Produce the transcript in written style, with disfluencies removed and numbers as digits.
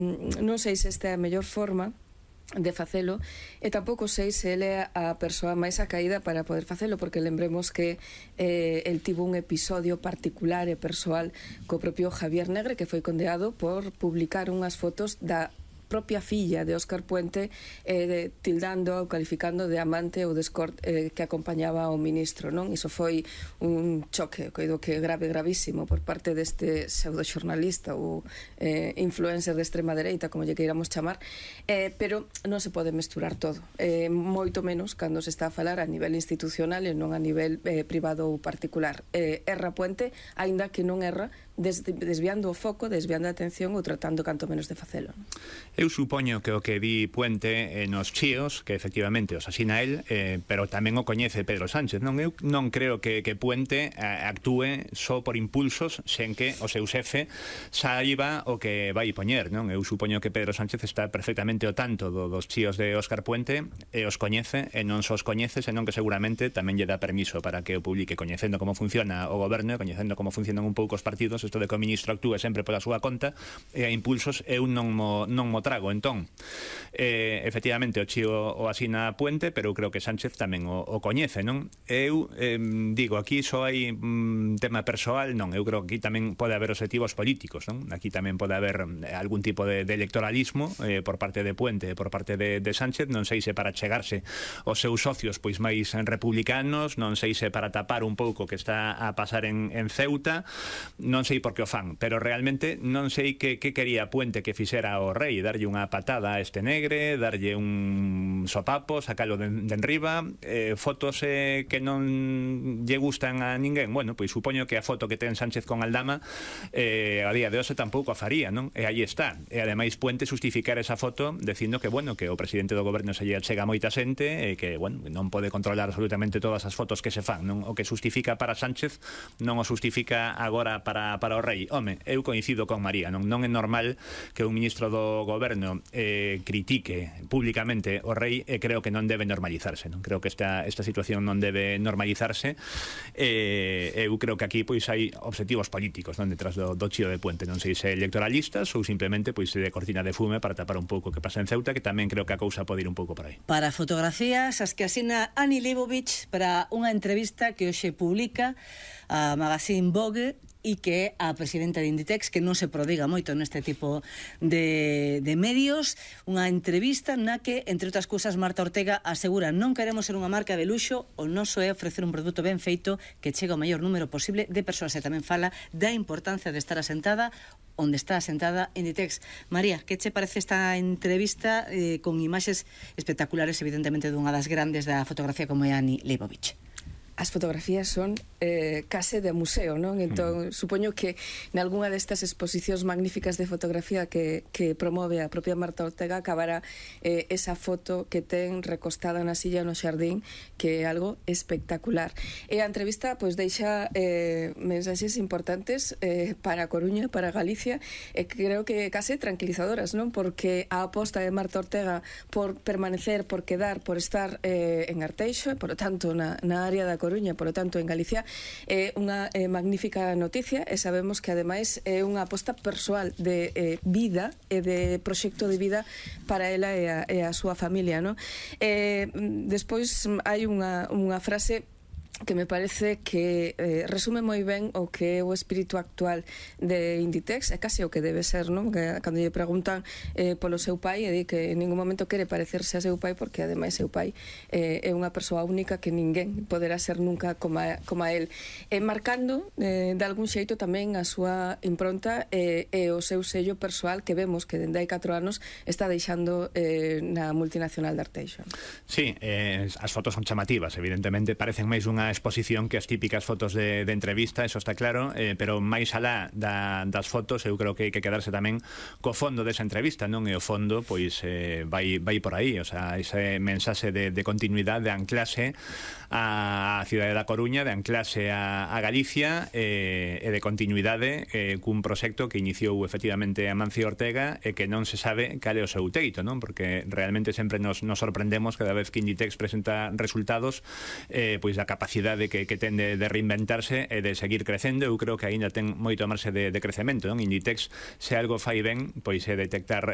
Non sei se esta é a mellor forma de facelo, e tampouco sei se ele é a persoa máis acaída para poder facelo, porque lembremos que el tivo un episodio particular e persoal co propio Javier Negre, que foi condeado por publicar unhas fotos da propia filla de Óscar Puente, tildando ou calificando de amante ou de escort que acompañaba ao ministro, non? Iso foi un choque, coido que gravísimo por parte deste pseudoxornalista ou influencer de extrema dereita, como lle queiramos chamar, pero non se pode mesturar todo, moito menos cando se está a falar a nivel institucional e non a nivel privado ou particular. Erra Puente, aínda que non erra desviando o foco, desviando a atención ou tratando canto menos de facelo. Eu supoño que o que di Puente nos chíos, que efectivamente os asina el, pero tamén o coñece Pedro Sánchez, non? Eu non creo que Puente actúe só por impulsos sen que o seu xefe saiba o que vai poñer, non? Eu supoño que Pedro Sánchez está perfectamente ao tanto dos chíos de Óscar Puente e os coñece, e non só os coñece, senón que seguramente tamén lle dá permiso para que o publique, coñecendo como funciona o goberno, coñecendo como funcionan un pouco os partidos. Isto de que o ministro actúe sempre pola súa conta e a impulsos eu non mo trago. Entón, efectivamente o chío o asina Puente, pero eu creo que Sánchez tamén o coñece, non? Eu digo, aquí só hai tema persoal, non, eu creo que aquí tamén pode haber objetivos políticos, non? Aquí tamén pode haber algún tipo de electoralismo por parte de Puente e por parte de Sánchez, non sei se para chegarse aos seus socios pois máis republicanos, non sei se para tapar un pouco que está a pasar en Ceuta, non sei por que o fan, pero realmente non sei que quería Puente que fixera o rei, darlle unha patada a este Negre, darlle un sopapo, sacalo de enriba, fotos que non lle gustan a ninguén. Bueno, pois supoño que a foto que ten Sánchez con Aldama a día de hoxe tampouco a faría, non? E aí está. E ademais Puente justificar esa foto dicindo que, bueno, que o presidente do goberno se lle chega moita xente e que, bueno, non pode controlar absolutamente todas as fotos que se fan, non? O que justifica para Sánchez non o justifica agora para o rei. Home, eu coincido con María, non é normal que un ministro do goberno critique públicamente o rei, e creo que non debe normalizarse, non? Creo que esta situación non debe normalizarse. Eu creo que aquí pois hai objetivos políticos, non, detrás do chío de Puente, non sei se electoralistas ou simplemente pois de cortina de fume para tapar un pouco o que pasa en Ceuta, que tamén creo que a cousa pode ir un pouco por aí. Para fotografías, as que asina Annie Leibovitz para unha entrevista que hoxe publica a Magazine Vogue, e que a presidenta de Inditex, que non se prodiga moito neste tipo de medios, unha entrevista na que, entre outras cousas, Marta Ortega asegura: non queremos ser unha marca de luxo, o noso é ofrecer un produto ben feito que chega ao maior número posible de persoas, e tamén fala da importancia de estar asentada onde está asentada Inditex. María, que che parece esta entrevista con imaxes espectaculares, evidentemente, dunha das grandes da fotografía como é Annie Leibovitz? As fotografías son case de museo, non? Entón, supoño que nalgúna destas exposicións magníficas de fotografía que promove a propia Marta Ortega acabará esa foto que ten recostada na silla no xardín, que é algo espectacular. E a entrevista pois deixa mensaxes importantes para a Coruña, para Galicia, e creo que case tranquilizadoras, non? Porque a aposta de Marta Ortega por permanecer, por quedar, por estar en Arteixo, por lo tanto na área da Coruña, por lo tanto en Galicia, é unha magnífica noticia, e sabemos que ademais é unha aposta persoal de vida e de proxecto de vida para ela e a súa familia, non? Despois hai unha frase que me parece que resume moi ben o que é o espírito actual de Inditex, é case o que debe ser, non? Que cando lle preguntan polo seu pai, e di que en ningún momento quere parecerse a seu pai, porque ademais seu pai é unha persoa única que ninguén poderá ser nunca como a él, marcando de algún xeito tamén a súa impronta e o seu sello persoal, que vemos que dende hai 4 anos está deixando na multinacional de Arteixo. Sí, as fotos son chamativas, evidentemente parecen máis unha exposición que as típicas fotos de entrevista, eso está claro, pero máis alá das fotos eu creo que hai que quedarse tamén co fondo desa entrevista, non? E o fondo pois vai por aí, o sea, ese mensaxe de continuidade, de anclase a cidade da Coruña, de anclase a Galicia, e de continuidade cun proxecto que iniciou efectivamente Amancio Ortega e que non se sabe cal é o seu teito, non? Porque realmente sempre nos sorprendemos cada vez que Inditex presenta resultados pois da capacidade necesidade que ten de reinventarse e de seguir crecendo. Eu creo que aínda ten moito marxe de crecemento, non? Inditex, se algo fai ben, pois é detectar